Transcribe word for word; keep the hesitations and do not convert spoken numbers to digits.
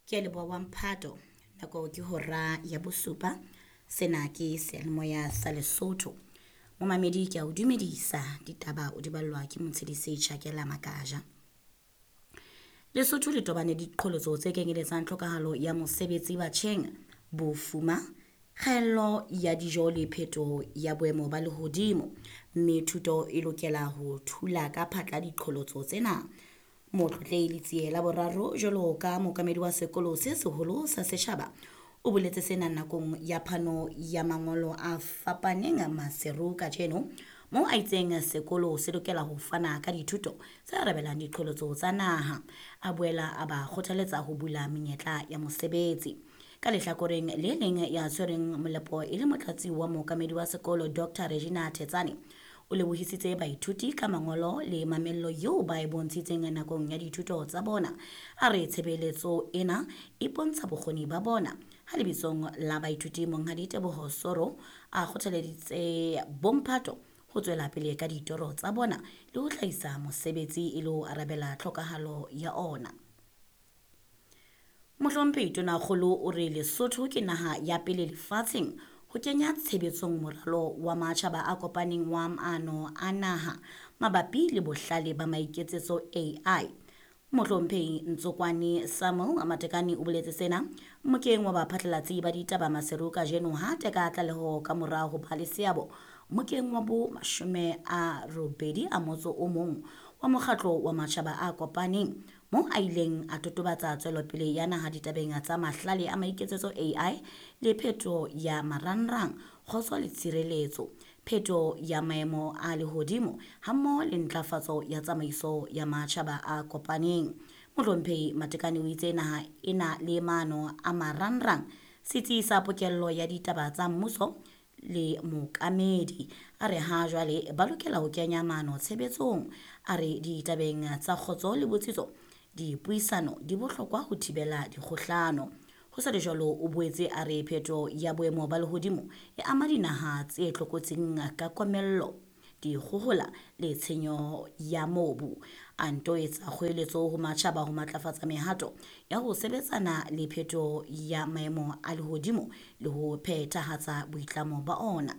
Ke a leboha wa mphato. Nako ke hora ya bosupa. Sena ke seyalemoya sa Lesotho. Momamedi ke a o dumedisa ditaba o di ballwa ke Motshedisi Tjhakela Makaja. Lesotho le tobane le diqholotso tse kenyeletsang tlhokahalo ya mosebetsi batjheng, bofuma, kgaello ya dijo le phetoho ya boemo ba lehodimo, mme thuto e lokela ho thula ka phatla diqholotso tsena. Motlotlehi Letsie la Boraro jwalo ka mookamedi wa sekolo se seholo sa setjhaba o boletse sena nakong ya phano ya mangolo a fapaneng Maseru kajeno, moo a itseng sekolo se lokela ho fana ka dithuto tse arabelang diqholotso tsa naha. A boela a ba kgothaletsa ho bula menyetla ya mosebetsi. Ka lehlakoreng le leng ya tshwereng molepo e le motlatsi wa mookamedi wa sekolo Doctor Regina Thetsane o lebohisitse baithuti ka mangolo le mamello eo ba e bontshitseng nakong ya dithuto tsa bona. A re tshebeletso ena e bontsha bokgoni ba bona. Ha lebitsong la baithuti Monghadi Teboho Soro a kgothaleditse bomphato ho tswela pele ka ditoro tsa bona le ho hlahisa mosebetsi e le ho arabela tlhokahalo ya ona. Mohlomphehi Tonakgolo o re Lesotho ke naha ya pele lefatsheng ho kenya tshebetsong moralo wa matjhaba a kopaneng wa maano a naha mabapi le bohlale ba maiketsetso A I. Mohlomphehi Ntsokwane Samuel Matekane o boletse sena mokeng wa baphatlalatsi ba ditaba Maseru kajeno ha teka tlaleho ka mora ho ba le seabo mokeng wa bo mashome a robedi a motso o mong wa mokgatlo wa matjhaba a kopaneng, moo a ileng a totobatsa tswelopele ya naha ditabeng tsa mahlale a maiketsetso A I le pheto ya marangrang, kgotso le tshireletso, pheto ya maemo a lehodimo hammoho le ntlafatso ya tsamaiso ya matjhaba a kopaneng. Mohlomphehi Matekane o itse naha e na le maano a marangrang, setsi sa pokello ya ditaba tsa mmuso le mookamedi. A re ha jwale ba lokela ho kenya maano tshebetsong. A re ditabeng tsa kgotso le botsitso, dipuisano di bohlokwa ho thibela dikgohlano. Ho sa le jwalo, o boetse a re pheto ya boemo ba lehodimo e ama dinaha tse tlokotsing ka komello, dikgohola le tshenyo ya mobu. A nto etsa kgoeletso ho matjhaba ho matlafatsa mehato ya ho sebetsana le pheto ya maemo a lehodimo le ho phethahatsa boitlamo ba ona.